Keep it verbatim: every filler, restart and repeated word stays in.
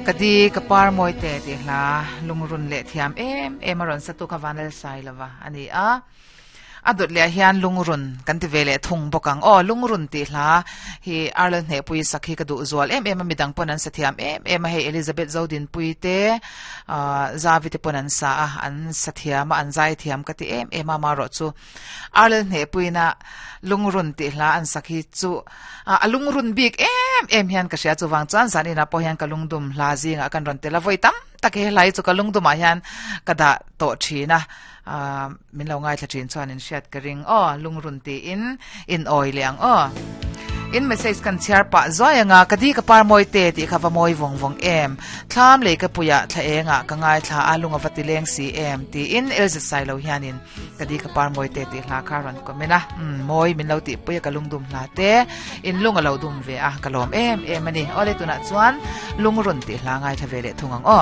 Kadi kapar moi te ti hla lungrun le thiam em em aron satu kha vanal sai lova ani a adot le hian lungrun kan ti vele thung bokang o lungrun ti hla hi arlen he pui sakhi ka du zual em em midang pon an sa thiam em em hei Elizabeth Zodin pui te a zavi te pon an sa a an sa thiam an zai thiam ka ti em em ma ro chu arlen he pui na lungrun ti hla an sakhi chu a lungrun bik em em hian ka sia chu wang chuan zanina po hian ka lungdum hla zinga kan ron tela voi tam tak he lai chu ka lungdum ah hian ka da to thina a min lo ngai thla thin chuan in hriat ka ring o lungrun ti in in oi liang o in message kan chiar pa zoyanga kadi ka par moi te ti kha va moi vong vong em thlam le ka puya thla enga ka ngai thla alunga vati leng si em ti in elza sai lo hianin kadi ka par moi te ti hla kha ron komena moi min lo ti puya ka lungdum hla te in lunga lo dum ve a kalom em em ani ole tuna chuan lungrun ti hla ngai tha ve le thungang o.